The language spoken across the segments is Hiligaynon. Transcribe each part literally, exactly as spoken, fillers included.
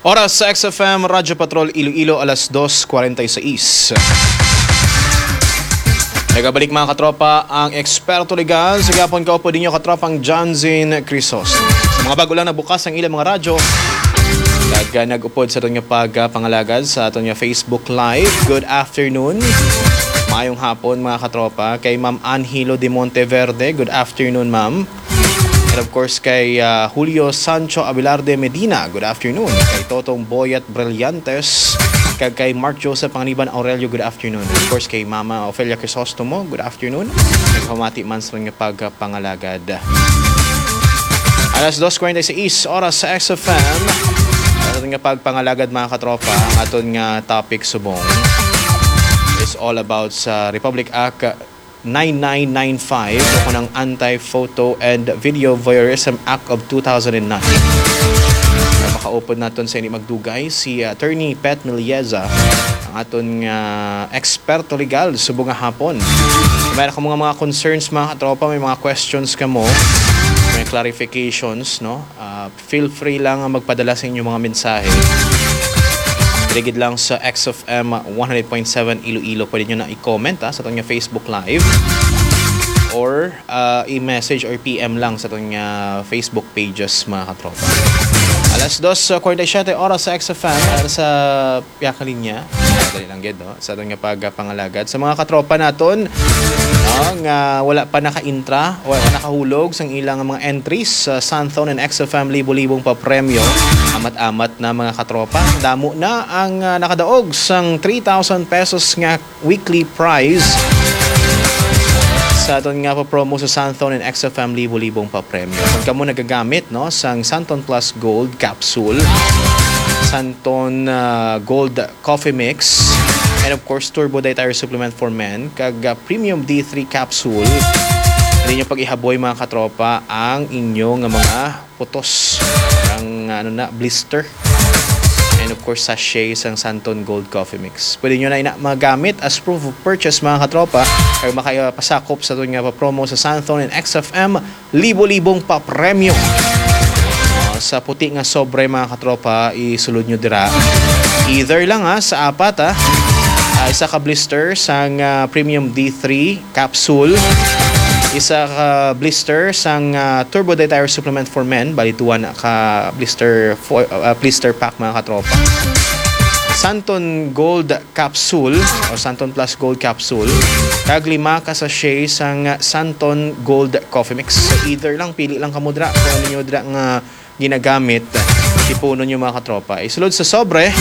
Oras sa X F M Radyo Patrol Iloilo, alas dos kwarenta y seis. Nagabalik, mga katropa, ang Eksperto Legal sa gihapon. Kaupo ninyo, katropang John Zin Crisostomo. Sa mga bago lang nabukas ang ilang mga radyo, kag, ah, nag-upod sa aton nga pagpangalagad sa aton nga Facebook Live, good afternoon. Maayong hapon, mga katropa. Kay Ma'am Angelo de Monteverde, good afternoon, ma'am. And of course, kay, ah, Julio Sancho Abelarde Medina, good afternoon. Kay Totong Boyat Brillantes, kag kay Mark Joseph Panganiban Aurelio, good afternoon. Of course, kay Mama Ofelia Crisostomo, good afternoon. Nagpamati man sa mga pagpangalagad. Alas dos kwarenta y seis, oras sa X F M. Aton nga pagpangalagad, mga katropa, ang aton nga topic subong is all about sa Republic Act nine nine nine five o kanang Anti-Photo and Video Voyeurism Act of two thousand nine. Ang makaupod naton sa ini magdugay, si Attorney Pet Milieza, ang aton nga eksperto legal subong nga hapon. Kung may mga, mga concerns, mga katropa, may mga questions kamo, may clarifications, no? Ah, feel free lang nga magpadala sa inyong mga mensahe. Diri gid lang sa X F M one hundred point seven Iloilo. Pwede nyo na i-comment, ah, sa aton nga Facebook Live or, ah, i-message or P M lang sa aton nga Facebook pages, mga katropa. Alas dos kwarenta y siyete, oras sa X F M, para sa Piyaka Linya. Dali lang gid, no? Sa aton nga pagpangalagad sa mga katropa naton, no, nga wala pa naka-intra, wala pa nakahulog sang ilang mga entries sa Santhon and X F M libo-libong papremyo. Amat-amat na, mga katropa. Damo na ang, ah, nakadaog sang three thousand pesos nga weekly prize sa aton nga pa-promo sa Santhon and X F M libo-libong papremyo. Kung kamo nagagamit, no, sang Santhon Plus Gold Capsule, Santhon, ah, Gold Coffee Mix, and of course, Turbo Dietary Supplement for Men, kag, ah, Premium D three Capsule, hindi nyo pag-ihaboy, mga katropa, ang inyo nga mga putos, ang, ano na, blister. And of course, sachet sang Santhon Gold Coffee Mix. Pwede nyo na ina magamit as proof of purchase, mga katropa, kag makapasakop sa aton nga pa-promo sa Santhon and X F M libo-libong papremyo. Ah, sa puti nga sobre, mga katropa, isulod nyo dira. Either lang, ha, sa apat, ha. Ah, isa ka blister sang, ah, Premium D three Capsule, isa ka blister sang, ah, Turbo Dietary Supplement for Men, bali duwa na ka blister fo-, ah, blister pack, mga katropa. Santon Gold Capsule o Santon Plus Gold Capsule, kag lima ka sachet sang Santon Gold Coffee Mix. So, either lang, pili lang kamo dira kung ano nyo dira nga ginagamit. Tipunon nyo, mga katropa. Isulod sa sobre,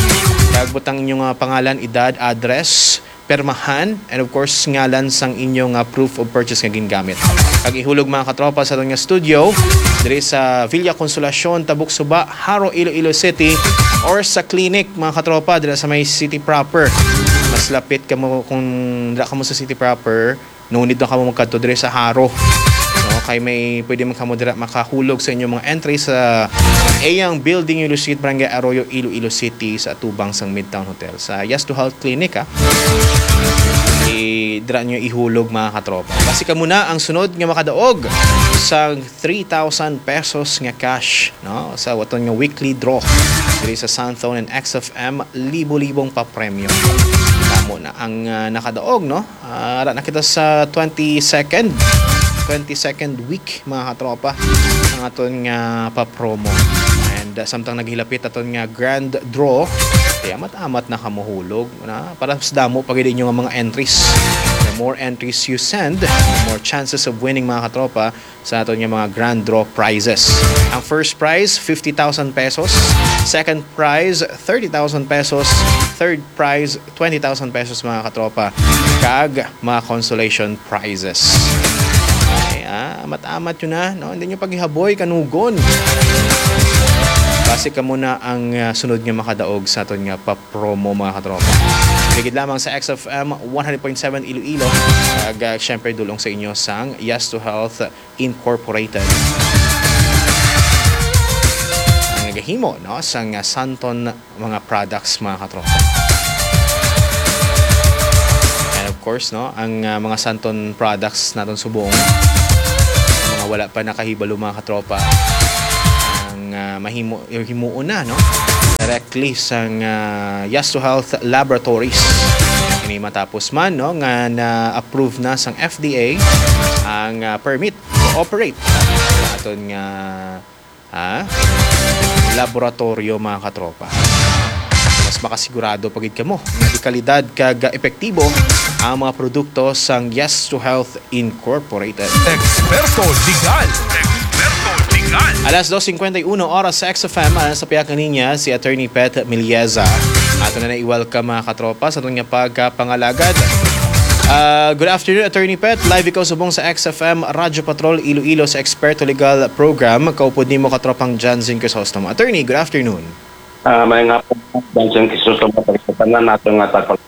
kag butang inyo nga pangalan, edad, address, permahan, and of course, ngalan sang inyo nga proof of purchase nga gingamit. Kag ihulog, mga katropa, sa aton nga studio, diri sa Villa Consolacion, Tabuk Suba, Jaro, Iloilo City, or sa clinic, mga katropa, dira sa may city proper. Mas lapit kamo kung dira kamo sa city proper, no need na kamo magkadto diri sa Jaro. No, kay may pwede man kamo dira makahulog sa inyong mga entry sa Eyang Building, Iloilo City, Barangay Arroyo, Iloilo City, sa atubang sang Midtown Hotel, sa Yes to Health Clinic, ha. I-, dira nyo ihulog, mga katropa. Basi kamo na ang sunod nga makadaog sa three thousand pesos nga cash, no, sa aton nga weekly draw diri sa Santhon and X F M libo-libong papremyo. Kamo na ang, ah, nakadaog, no? Ah, ara na kita sa twenty-second, twenty-second week, mga katropa, ang aton nga pa-promo. And, ah, samtang naghilapit aton nga grand draw, kaya amat-amat na kamo hulog, na para mas damo pa gid inyo nga mga entries. The more entries you send, the more chances of winning, mga katropa, sa aton nga mga grand draw prizes. Ang first prize, fifty thousand pesos. Second prize, thirty thousand pesos. Third prize, twenty thousand pesos, mga katropa. Kag mga consolation prizes. Okay, ah, amat-amat yun na, no? Hindi nyo paghihaboy, kanugon. Basi kamo na ang, ah, sunod nga makadaog sa aton nga pa-promo, mga katropa. Ligid lamang sa X F M one hundred point seven Iloilo. Kag, ah, syempre, dulong sa inyo sang Yes to Health Incorporated. Ang nagahimo, no, sang, ah, Santon mga products, mga katropa. And of course, no, ang, ah, mga Santon products naton subong, mga wala pa nakahibalo, mga katropa, ang ah, mahimo himuon na, no, directly sang, ah, Yes to Health Laboratories. Ini matapos man, no, nga na-approve na sang F D A ang, ah, permit to operate sa aton nga, ah, laboratorio, mga katropa. Mas makasigurado pa gid kamo nga dekalidad kag epektibo ang mga produkto sang Yes to Health Incorporated. Eksperto Legal. Eksperto Legal. Alas dos cincuenta y uno oras sa X F M, ah, sa pihak niya si Attorney Pet Milieza. Ato na na i-welcome, mga katropa, sa aton nga pagkapangalagad. Ah, good afternoon, Attorney Pet. Live ikaw subong sa X F M Radyo Patrol Iloilo sa Eksperto Legal Program. Kaupod nimo, katropang Janzen Crisostomo. Attorney, good afternoon. Ah, may nga po, Janzen Crisostomo, sa tanan nato nga tagpag-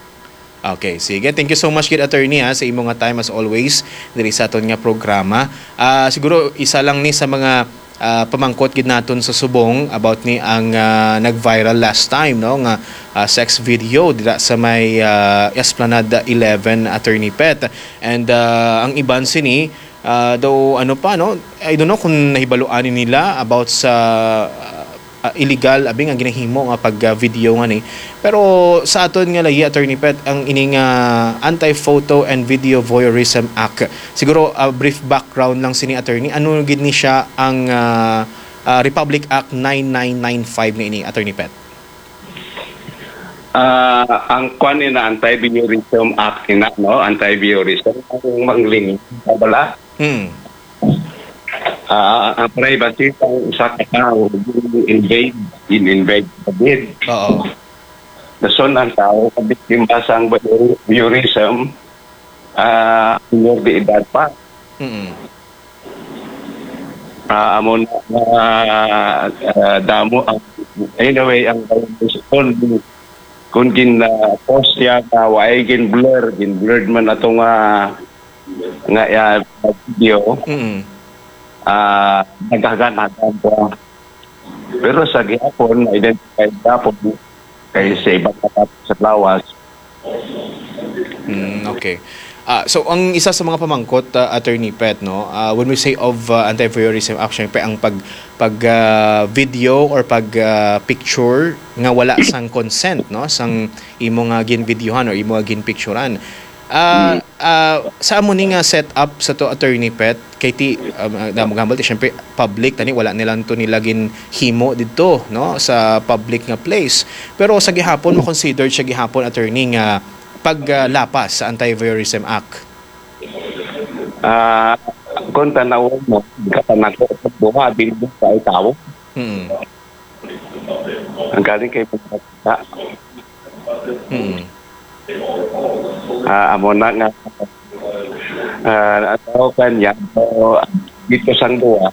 Okay, sige. Thank you so much gid, Attorney, ha, sa imo nga time as always diri sa aton nga programa. Ah, siguro isa lang ni sa mga, ah, pamangkot gid naton sa subong about ni ang, ah, nag-viral last time, no, nga, ah, sex video dira sa may, ah, Esplanade eleven, Attorney Pet. And, ah, ang iban sini, ah, daw ano pa, no? I don't know kung nahibaluan ni nila about sa, ah, ah, illegal abi nga ginahimo nga pag, ah, video nga ni. Pero sa aton nga layi, Attorney Pet, ang ining, ah, Anti-Photo and Video Voyeurism Act. Siguro, ah, brief background lang sini, Attorney. Ano gid ni siya ang, ah, ah, Republic Act nine nine nine five nga ini, Attorney Pet? Ah, ang kwan ni na Anti-Voyeurism Act ina, no? Anti-Voyeurism. Ang mangling, bala? Hmm. Ah, ang privacy sang usa ka tawo gin-invade, gin-invade sa gid. Oo. Dason ang tawo kabiktima sang voyeurism, ah, minor de edad pa. Mm. Ah, amo na, ah, ah, damo ang, anyway, ang violation kung, kung gin, ah, post niya nga wa ay gin-blur, gin-blurred man ato nga, nga, ah, video. Mm. Ah, naghagan-hagan pa. Pero sa gihapon, na-identify gihapon kay sa ibang mga sa lawas. Mm, okay. Ah, so, ang isa sa mga pamangkot, ah, Attorney Pet, no, ah, when we say of, ah, Anti-Voyeurism Act, syempre, ang pag, pag, ah, video or pag, ah, picture nga wala sang consent, no, sang imo nga ginvideohan or imo nga ginpicturan. Ah, Mm. ah, sa amo ni nga setup sa to, Attorney Pet, kay ti, um, ah, damo gambal ti, syempre, public, tani, wala nilang to nila ginhimo didto, no, sa public nga place. Pero sa gihapon, makonsider siya gihapon, Attorney, nga pag, ah, lapas sa Anti-Voyeurism Act. Ah, kung tanawon mo, katanako sa buha, din sa tawo. Mm. Ang galing kay mga bata. Mm. Ah, amo na nga, ah, ang tawag niya, so, dito sang duwa,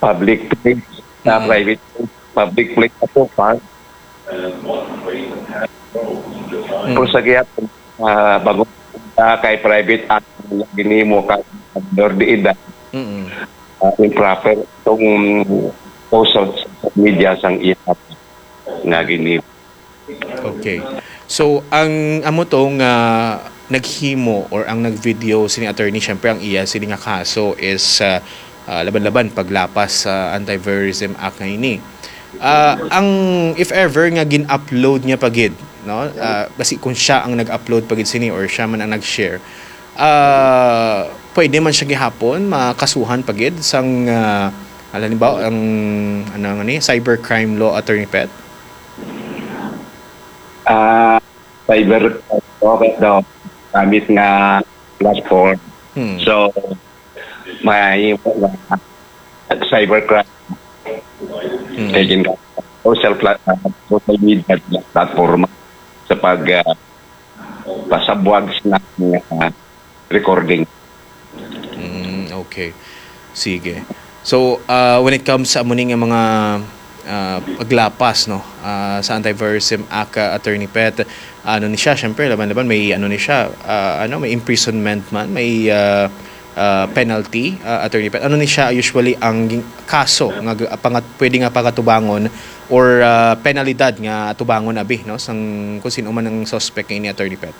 public place, sa Mm. private place, public place sa tukang. Mm. Kung sa gihapon, ah, bago ka kay private act, ginimo ka, minor de edad, Mm. ah, improper itong post sa social media sang iya nga ginimo. Okay. So, ang amo to nga naghimo or ang nag-video sini, Attorney, syempre ang iya sini nga kaso is, ah, ah, laban-laban paglapas sa Anti-Voyeurism Act nga ini. Ah, ang, if ever nga gin-upload niya pa gid, no? Ah, basi kung siya ang nag-upload pa gid sini or siya man ang nag-share, ah, pwede man siya gihapon makasuhan pa gid sang, ah, halimbawa, ang, ano nga ni, cybercrime law, Attorney Pet? Ah, cyber, okay daw, gamit nga platform. Hmm. So, may, uh, cybercrime. Hmm. Kay gin-, social pla-, uh, social media platform sa pag, uh, pasabwag sa, uh, recording. Mm, okay. Sige. So, ah, when it comes sa amo ni nga mga, ah, paglapas, no, ah, sa Anti-Voyeurism Act, ah, Attorney Pet, ano ni siya, syempre, laban-laban, may ano ni siya, ah, ano, may imprisonment man, may, ah, ah, penalty, ah, Attorney Pet. Ano ni siya usually ang ging-, kaso nga g-, pangat-, pwede nga pagatubangon or, ah, penalidad nga atubangon abi, no, sang kung sino man ang suspect nga ini, Attorney Pet?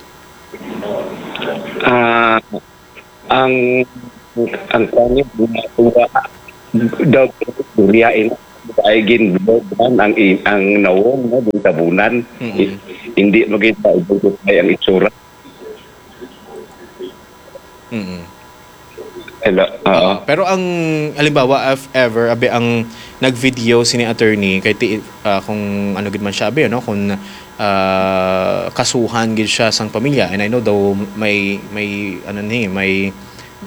Ah, ang, ang kanya, ginagawa daw, istorya, eh, ay gin-blurred man ang i-, ang nawong, no, gin tabunan. Mm-mm. I-, hindi magkita ang itsura. Mm-mm. Hello, oo. Oo. Pero ang, halimbawa, if ever, abi, ang nag-video sini attorney, kay ti-, ah, kung ano gid man siya, abi, ano, kung, ah, kasuhan gid siya sang pamilya, and I know daw may, may, ano ni, may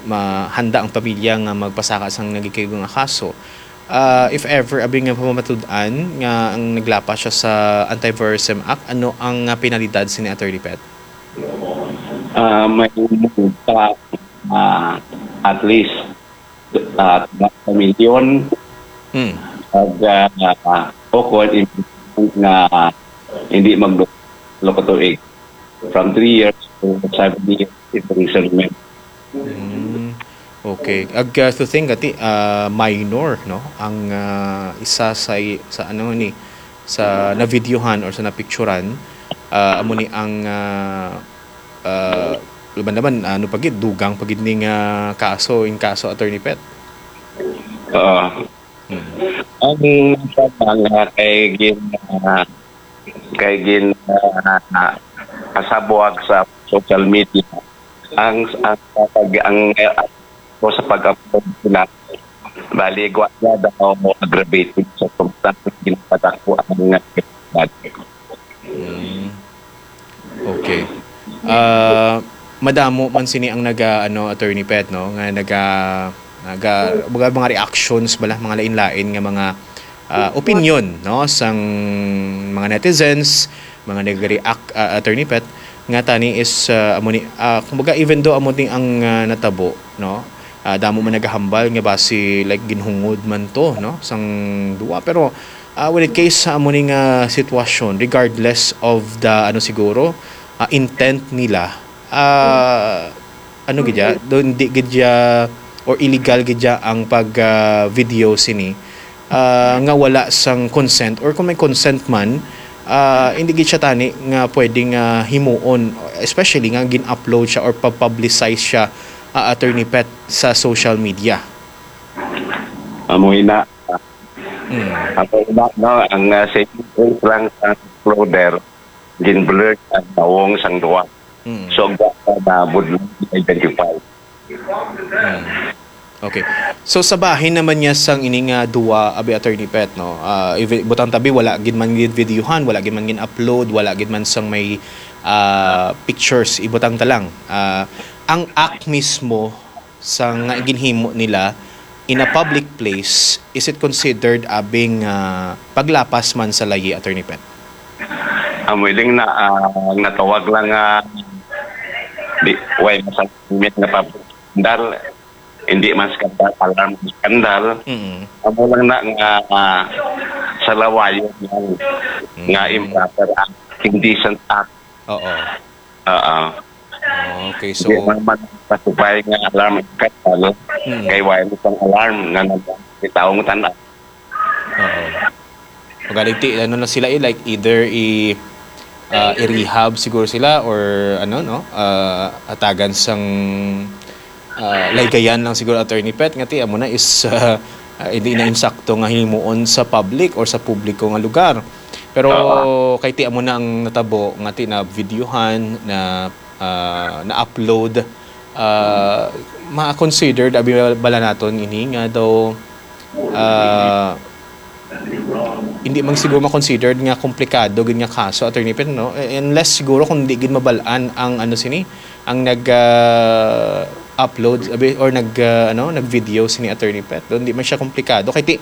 mahanda ang pamilya nga magpasaka sang nagikaigo nga kaso. Ah, if ever, abi, nga pamamatud-an nga ang naglapas siya sa Anti-Voyeurism Act, ano ang, ah, penalidad sini, Attorney Pet? Ah, may multa, ah, at least, ah, twenty million. Hmm. Ag, ah, o kung hindi nga hindi magdulo ka tuig, from three years to seven years imprisonment. Hmm. Okay. Ag, ah, to think, ati, ah, minor, no? Ang, ah, isa sa, sa ano ni, sa na-videohan or sa napicturan, ah, amo ni ang, ah, ah, laban-laban, ano pa gid, dugang pa gid ning, ah, kaso, in kaso, Attorney Pet. Oo. Hmm. Ang sa mga kay gin, ah, kay gin, ah, kasabwag sa social media, ang, ang, ang, ang, ko sa pag-upload sila, bali, gwa niya daw aggravated sa substance, ginapadako ang Mm. Okay. Ah, madamo man sini ang naga, ano, Attorney Pet, no, nga naga, naga, mga, mga reactions bala, mga lain-lain nga mga, ah, opinion, no, sang mga netizens, mga nag-react, ah, Attorney Pet, nga tani is, ah, amo ni, ah, kumbaga, even though amo ni ang, ah, natabo, no, ah, damo man nagahambal nga basi, like, ginhungod man to, no, sang duwa. Pero, ah, when it case sa amo ni nga sitwasyon, regardless of the, ano, siguro, ah, intent nila, ah, ano gid ya, do, hindi gid ya, or illegal gid ya ang pag, ah, video sini, ah, nga wala sang consent, or kung may consent man, ah, hindi gid siya tani nga pwede nga himuon, especially nga gin-upload siya or pa-publicize siya, ah, Attorney Pet, sa social media. Amo ina. Mm. Amo ina, no, ang, ah, saving grace lang sa uploader, gin-blur ang nawong sang duwa. Mm. So, ang duwa na budlong identify. Mm. Okay. So, sa bahin naman niya sang ini nga duwa, abi, Attorney Pet, no? Ah, ivi-, butang tabi, wala gid man gid videohan, wala gid man gid upload, wala gid man sang may, ah, pictures, ibutang ta lang. Ah, ang act mismo sa nga ginhimo nila in a public place, is it considered abing, ah, paglapas man sa layi, Attorney Pet? Amo iling na, ah, natawag lang nga di, way masamit nga public scandal, hindi man scandal, alarm scandal. Mm. Amo lang na nga, ah, sa lawayon lang nga Mm. improper act, indecent act. Oo. Oo. Okay, so hindi man, man pasubay nga alarm scandal, Mm. kay wala man sang alarm nga nag-, itaw mo tan-aw. Oo. Pagalitik, ano na sila, eh, like, either i-, ah, i-rehab siguro sila or, ano, no, ah, atagan sang, ah, laygayan lang siguro, Attorney Pet, nga ti, amo na is, ah, ah, hindi na insakto nga himuon sa public or sa publiko nga lugar. Pero Oo. kay ti, amo na ang natabo, nga ti, na videohan, na, ah, na-upload, ah, ma-considered, abi bala naton ini nga daw, ah, hindi man siguro ma-considered nga komplikado gid nga kaso, Attorney Pet, no? Eh, unless siguro kung di gid mabal-an ang ano sini, ang nag, ah, upload, abi, or nag, ah, ano, nag-video sini, Attorney Pet. Doon di man siya komplikado. Kay ti,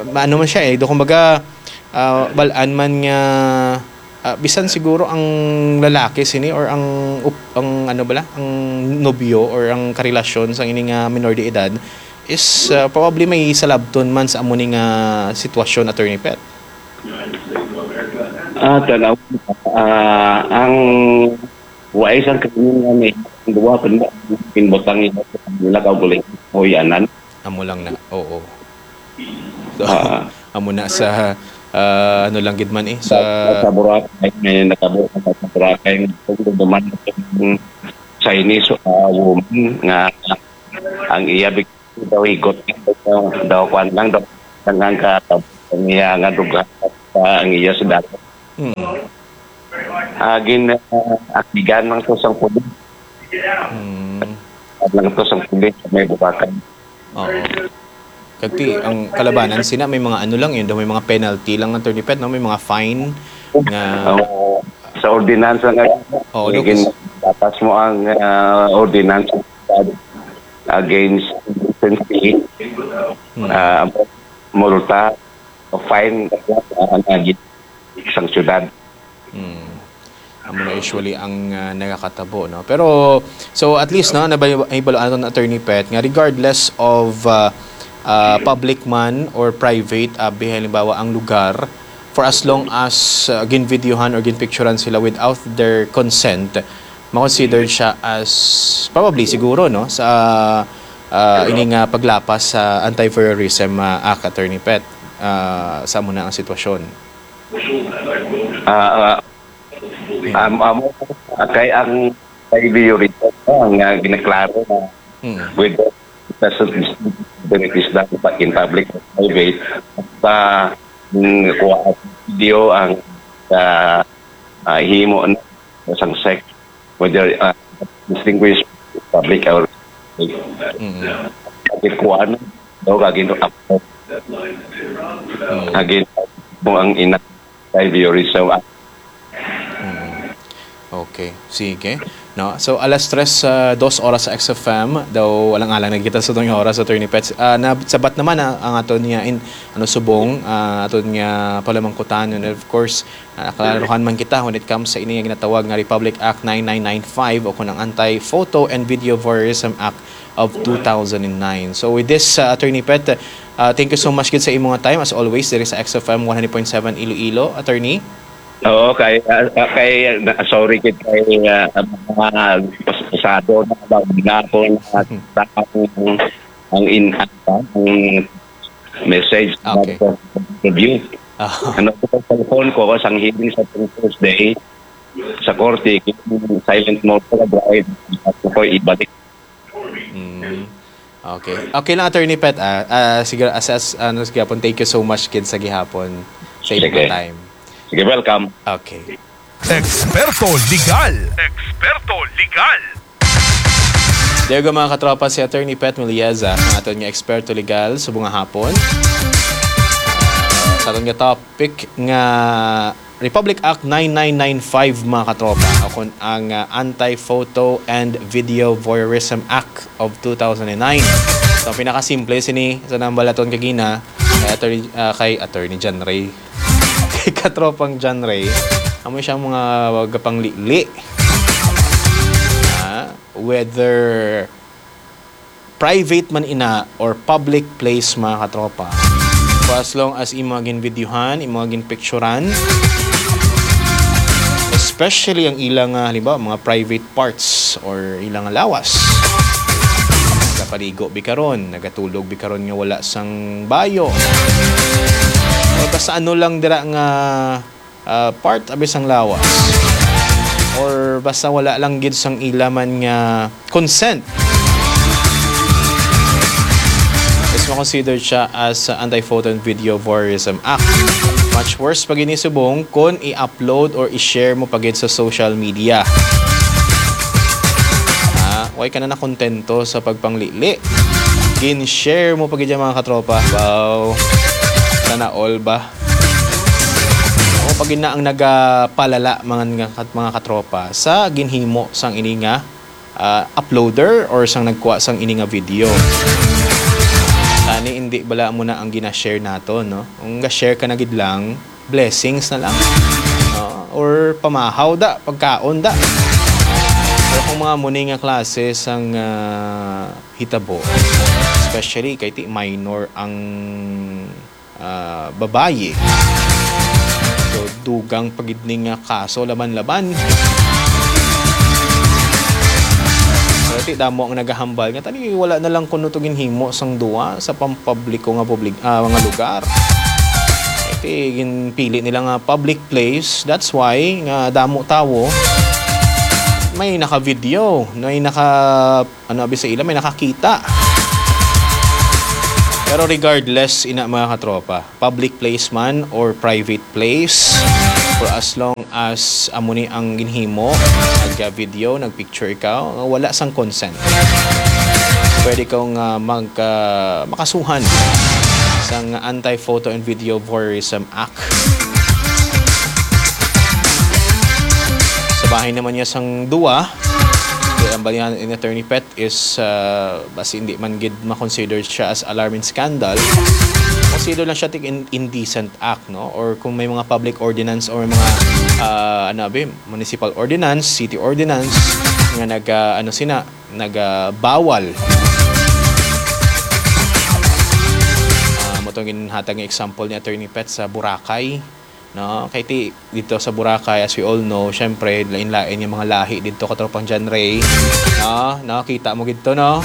ma-, ano man siya eh, do kumbaga, ah, bal-an man nga, ah, bisan siguro ang lalaki sini or ang up-, ang ano bala, ang nobyo or ang karelasyon sang ini nga minor de edad is, ah, probably may salabton man sa amo ni nga sitwasyon, Attorney Pet. Ah, tanaw, ah, ang wais ang krimen nga ni, ang duwa pa nila, pinbutang nila sa kanila, kaugalingon, huyanan. Amo lang na, oo. So, Ah. amo na sa, ah, ano lang gid man eh, sa Sa, sa Boracay, may natabo sa Boracay, kung duman ang Chinese, ah, woman nga ang iya big-, daw higot, daw, daw kwan lang, daw, ang, ang ka-, ang iya nga lugar, ah, ang iya sa dagat. Hmm. Ah, gin, ah, akigan lang to sang pulis. Hmm. Lang to sang pulis, may bukakan. Oo. Kagti, ang kalabanan sina, may mga ano lang yun, may mga penalty lang, Attorney Pet, no? May mga fine nga Oo. Sa ordinansa nga, Oo, may Lucas. gin-, batas mo ang, ah, ordinansa against indecency, Hmm. ah, multa, o fine, ah, ang agi sang syudad. Hmm. Amo na usually ang, ah, nagakatabo, no? Pero, so at least, no, nabay-, nahibalo naton, Attorney Pet, nga regardless of, ah, ah, public man or private, abi, halimbawa, ang lugar, for as long as, ah, ginvideohan or ginpicturan sila without their consent, ma-consider siya as, probably, siguro, no, sa, ah, ini nga paglapas sa Anti-Voyeurism, ah, Act, Attorney Pet, ah, sa amo na ang sitwasyon. Ah, ah, am-, amo, kay ang kay Bio Rito, no, nga ginaklaro na Mm. with the, the, the, the, in public, private, sa, mm, kuha video ang, ah, ah, himo na sang sex, whether, ah, distinguish public or Mm. Pagkuan, no, kag ino-, Mm. Again, mo ang ina kay Bio Rito. Mm. Okay, sige. No? So, alas tres, ah, dos oras sa X F M. Daw, alang-alang na kita sa itong oras, Attorney Pets. Ah, na, sabat naman, ah, ang aton nga in, ano, subong, ah, aton nga palamangkutan. And of course, ah, klaruhan man kita when it comes sa ini nga ginatawag nga Republic Act nine nine nine five o kung ang Anti-Photo and Video Voyeurism Act of two thousand and nine. So, with this, ah, Attorney Pet, ah, thank you so much gid sa imong time. As always, diri sa X F M one hundred point seven Iloilo, Attorney. Oo, kay, ah, ah, kay, na, sorry gid kay, ah, mga pas-, pasado na ba, gihapon, ah, Hmm. ang, ang in, ang message Okay. sa interview. Ah. Ano ko sa cellphone ko, sang hearing sa Thursday, sa korte, silent mode ko, drive, ako ko ibalik. Mm. Okay. Okay lang, Attorney Pet, ah. Ah, sige, as, as, ano, sige, apon, thank you so much gid sa gihapon sa imong Sige. time. Sige, welcome. Okay. Eksperto Legal. Eksperto Legal. There you go, mga katropa, si Attorney Pet Mulieza, ang aton nga eksperto legal subong nga hapon. Sa aton nga topic nga Republic Act nine nine nine five, mga katropa, o kun ang, ah, Anti-Photo and Video Voyeurism Act of two thousand and nine. So, ang pinakasimple sini sa nambal naton kagina, kay Attorney, ah, kay Attorney John Ray. Kay Katropang John Ray, amo siyang mga gapanglili. Ah, whether private man ina or public place, mga katropa. For as long as imo ginvideohan, imo ginpicturan, especially ang ilang, ah, halimbawa, mga private parts or ilang lawas. Nagapaligo bi karon, nagatulog bi karon nga wala sang bayo. O basta ano lang dira nga, ah, part abi sang lawas. Or basta wala lang gid sang ila man nga consent. Is ma-consider siya as, ah, Anti-Photo and Video Voyeurism Act. Much worse pa gini subong kung i-upload or i-share mo pa gid sa social media. Ah, way ka na nakontento sa pagpanglili. Gin-share mo pa gid yan, mga katropa. Wow. Sana all ba? O pag ina ang nagapalala, mga, mga, mga katropa, sa ginhimo sang ini nga, ah, uploader or sang nagkuha sang ini nga video. Tani, hindi bala mo na ang gina-share nato, no? Kung ga-share ka na gid lang, blessings na lang. No? Or pamahaw da, pagkaon da. Pero kung mga muni nga klase sang, ah, hitabo, especially kay ti minor ang ah, babayi. So, dugang pa gid ni nga kaso laban-laban. Pero ti damo ang nagahambal nga tani wala na lang kuno to ginhimo sang duwa sa pampubliko nga publik-, ah, nga lugar. Ti ginpili nila nga public place. That's why nga damo tawo may naka-video, may naka ano, abi sa ila, may nakakita. Pero regardless, ina, mga katropa, public place man or private place, for as long as amo ni ang ginhimo, nag-video, nag-picture ikaw, nga wala sang consent, pwede kang, ah, mag, ah, makasuhan sang Anti-Photo and Video Voyeurism Act. Sa bahin naman niya sang duwa, kaya ang balihan in Attorney Pet is, ah, basi hindi man gid ma-consider siya as alarm and scandal. Consider lang siya tig in-, indecent act, no? Or kung may mga public ordinance or may mga, ah, ano, abi, municipal ordinance, city ordinance nga nag, ah, ano sina, nag, ah, bawal. Ah, mo tong ginhatag nga example ni Attorney Pet sa Boracay. No? Kay ti-, dito sa Boracay, as we all know, syempre, lain-lain yung mga lahi dito, katropang John Ray. No? Nakita mo gid to, no?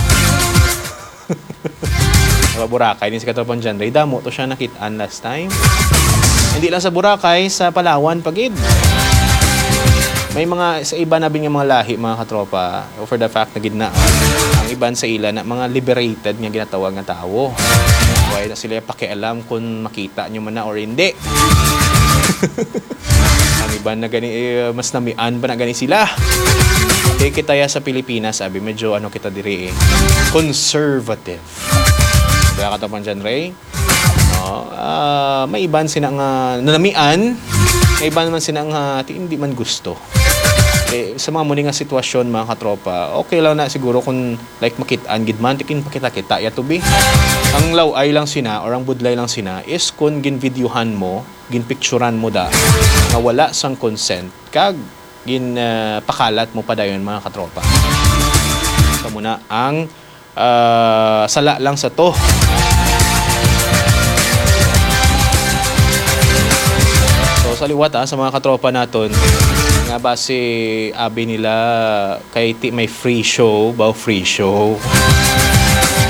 Mga Boracay din si katropang John Ray. Damo to siya nakitaan last time. Hindi lang sa Boracay, sa Palawan pa gid. May mga, sa iba na bin nga mga lahi, mga katropa, for the fact na gid na, ang iban sa ila na mga liberated nga ginatawag nga tawo. Wala na sila pakialam kung makita nyo man na or hindi. Ang iban na gani, eh, mas namian pa na gani sila. Kay kita ya sa Pilipinas, abi, medyo ano kita diri eh, conservative. Kaya katapang dyan, Ray? No? Ah, may iban sina nga nanamian, may iban naman sina nga ti-, hindi man gusto. Eh, sa mga muni nga sitwasyon, mga katropa, okay lang na siguro kung, like, makitaan gid man, tikin pakita-kita ya to be. Ang laway lang sina or ang budlay lang sina is kung ginvideohan mo, ginpicturan mo da, nga wala sang consent, kag gin, ah, pakalat mo pa dayon, mga katropa. Amo na ang ah, sala lang sa to. So, sa liwat, ah, sa mga katropa naton, nga basi abi nila kay ti may free show, ba, free show.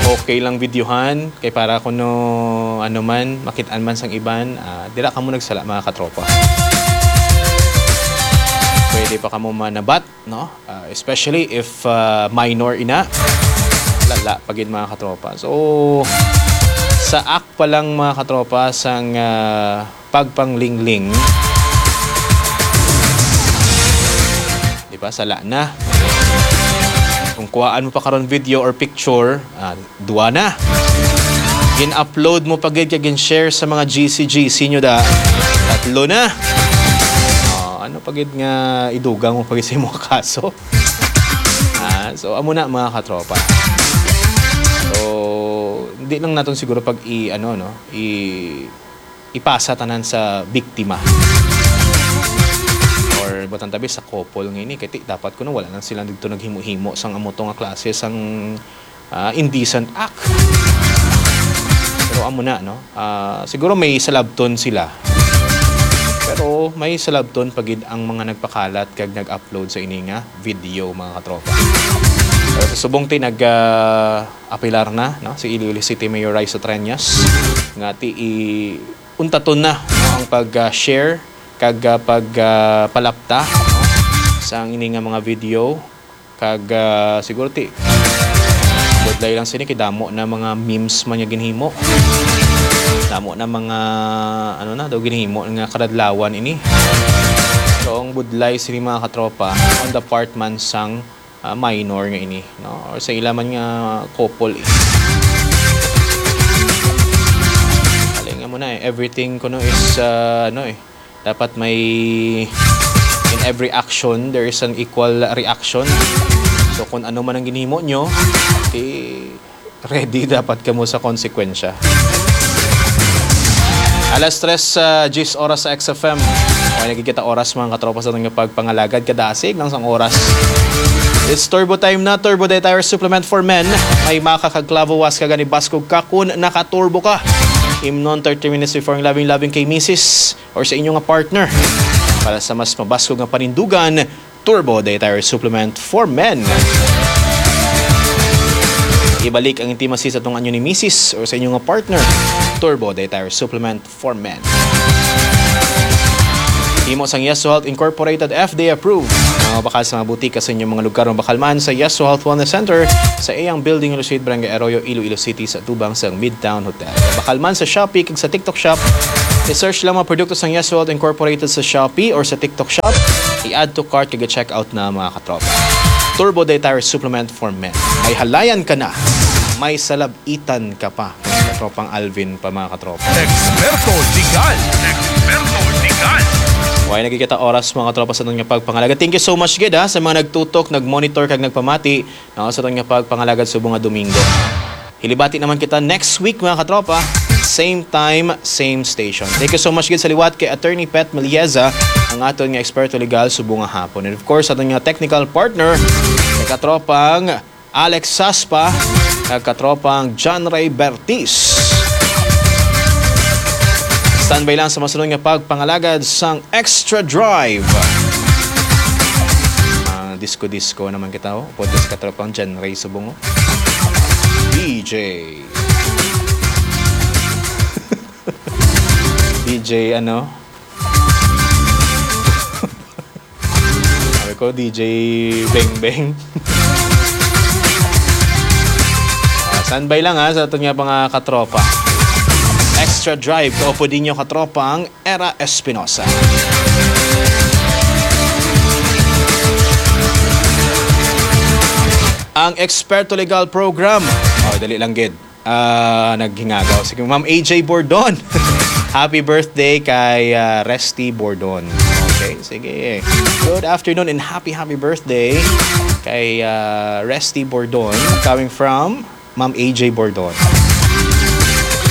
Okay lang videohan, kay para kuno ano man, makitaan man sang iban, ah, dira kamo nagsala, mga katropa. Pwede pa kamo manabat, no? Ah, especially if, ah, minor ina. Lala pa gid, mga katropa. So, sa act pa lang, mga katropa, sang, ah, pagpanglingling, di ba, sala na. Kung kuhaan mo pa karon video or picture, ah, dua na. Gin-upload mo pa gid kag gin-share sa mga G C G C nyo da. Tatlo na. Ah, ano pa gid nga idugang mo pa gid sa imong kaso? Ah, so, amo na, mga katropa. So, hindi lang naton siguro pag i-, ano, no, i-, ipasa tanan sa biktima. Or, butang tabi sa couple nga ini, kay ti-, dapat kuno wala lang sila dito naghimo-himo sang amo to nga klase sang, ah, indecent act. Pero amo na, no? Ah, siguro may salabton sila. Pero may salabton pa gid ang mga nagpakalat kag nag-upload sa ini nga video, mga katropa. Pero sa subong ti nag, ah, apilar na, no, si Iloilo City Mayor Raisa Treñas nga ti i-, untaton na, no, ang pag, ah, share kag, ah, pag, ah, palapta, no, sa ang ini nga mga video. Kag, ah, siguro ti budlay lang sini kay damo na mga memes man nga ginhimo. Damo na mga, ano na, daw ginhimo nga kadadlawan ini. So, ang budlay sini, mga katropa, on the part man sang, ah, minor nga ini, no? Or sa ila man nga couple, eh. Kalinga mo na, eh. Everything kuno is, ah, ano, eh, dapat may, in every action, there is an equal reaction. So, kung ano man ang ginhimo nyo, di ready dapat kamo sa konsekwensya. Alas tres, ah, diyes oras sa X F M. Okay, nagkikita oras, mga katropa, sa aton nga pagpangalagad. Kadasig lang sang oras. It's Turbo Time na, Turbo Day Tire Supplement for Men. May makakagklavo was ka gani baskog ka kun nakaturbo ka. Imnon thirty minutes before ang labing-labing kay misis or sa inyo nga partner. Para sa mas mabaskog nga panindugan, Turbo Day Tire Supplement for Men. Ibalik ang intimacy sa atong anyo ni misis or sa inyo nga partner. Turbo Day Tire Supplement for Men. Sang Yeso Health Incorporated, F D A approved. Mga bakal sa mga butika sa inyong mga lugar, mabakal man sa Yeso Health Wellness Center sa iyang building, Ilosuit, Barangay Arroyo, Iloilo City, sa tubang sang Midtown Hotel. Bakal man sa Shopee kag sa TikTok Shop. I-search lang mga produkto sang Yeso Health Incorporated sa Shopee or sa TikTok Shop. I-add to cart kag i-check out na, mga katropa. Turbo Dietary Supplement for Men. May halayan ka na. May salab-itan ka pa. Katropang Alvin pa, mga katropa. Eksperto Legal. Eksperto Legal. Way na gid kita oras, mga katropa, sa aton nga pagpangalagad. Thank you so much gid, ha, sa mga nagtutok, nagmonitor, kag nagpamati, no, sa aton nga pagpangalagad subong nga Domingo. Hilibati naman kita next week, mga katropa. Same time, same station. Thank you so much gid sa liwat kay Attorney Pet Melieza, ang aton nga eksperto legal subong nga hapon. And of course, aton nga technical partner, kay katropang Alex Saspa, kag katropang John Ray Bertis. Standby lang sa masunod nga pagpangalagad sang Extra Drive. Ah, disco-disco naman kita, oh. Pwede sa katropang John Ray Subong, oh. D J. D J, ano? Sabi ko, D J Beng Beng. Ah, standby lang, ha, sa aton nga mga katropa. Extra Drive, kaupod ninyo, katropang Era Espinosa. Ang Eksperto Legal Program. Oh, dali lang gid. Ah, naghingagaw. Sige, Ma'am A J Bordon. Happy birthday kay, ah, Resty Bordon. Okay, sige. Good afternoon and happy, happy birthday kay, ah, Resty Bordon. Coming from Ma'am A J Bordon.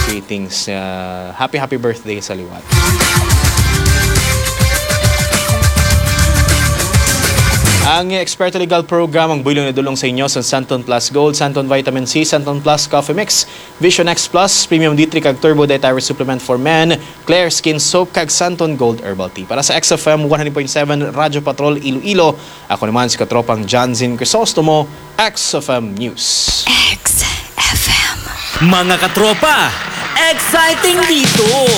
Greetings. Ah, happy, happy birthday sa liwat. Ang Eksperto Legal Program, ang buylon nga dulong sa inyo sa Santon Plus Gold, Santon Vitamin C, Santon Plus Coffee Mix, Vision X Plus, Premium D three kag Turbo Dietary Supplement for Men, Claire Skin Soap, kag Santon Gold Herbal Tea. Para sa X F M one hundred point seven Radyo Patrol Iloilo, ako naman si katropang Johnson Crisostomo, X F M News. X F M. Mga katropa, exciting dito!